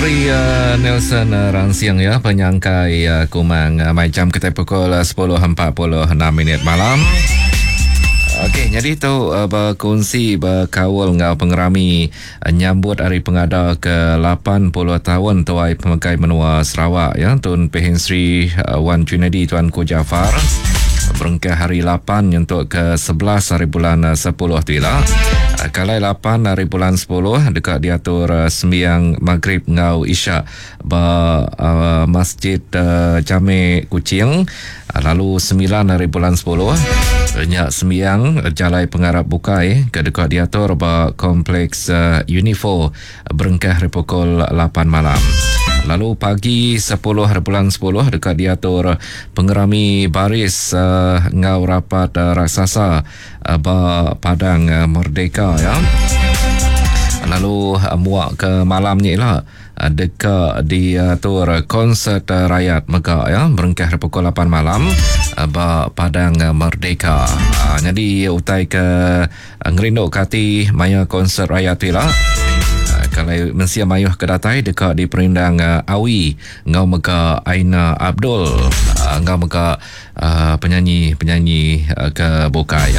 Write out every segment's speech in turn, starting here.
Ari Nelson Ransing ya penyangkai Kumang mai jam kita pukul 10.46 minit malam. Okey, jadi tu berkongsi berkaul enggau pengerami nyambut hari pengada ke 80 tahun tuai pemegai menua Sarawak ya Tun Pehin Sri Wan Junedi Tuanku Jaafar berengkah hari 8 nyentuk ke 11 hari bulan 10 tu ila. Kalai 8 hari bulan 10 deka diatur sembiang Maghrib enggau Isyak ba Masjid Jame Kuching lalu 9 hari bulan 10 nya sembiang jalai pengarap bukai ke deka diatur ba Kompleks Unifor berengkah ari pukul 8 malam. Lalu pagi 10 hari bulan 10 deka diatur pengerami baris enggau rapat raksasa ba Padang Merdeka ya. Lalu muak ke malam nya ila deka diatur konsert rayat mega ya berengkah ari pukul 8 malam ba Padang Merdeka. Nyadi utai ke Ngerindu ke ati maya konsert raya tu ila. Kalai mensia mayuh ke datai deka diperindang Awi enggau mega Aina Abdul enggau mega penyanyi-penyanyi ke bukai.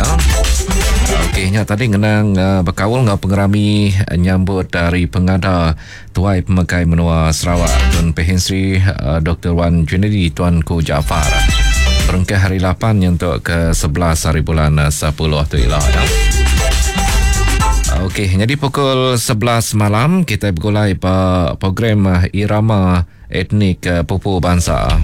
Okey nya tadi ngenang bekaul enggau pengerami nyambut hari pengada Tuai Pemegai Menua Sarawak Tun Pehin Sri Doktor Wan Junaidi Tuanku Jaafar. Berengkah hari 8 nyentuk ke 11 hari bulan 10 tu ila ya. Okey, jadi pukul 11 malam kita bergulai ba program Irama Etnik Pupu Bansa.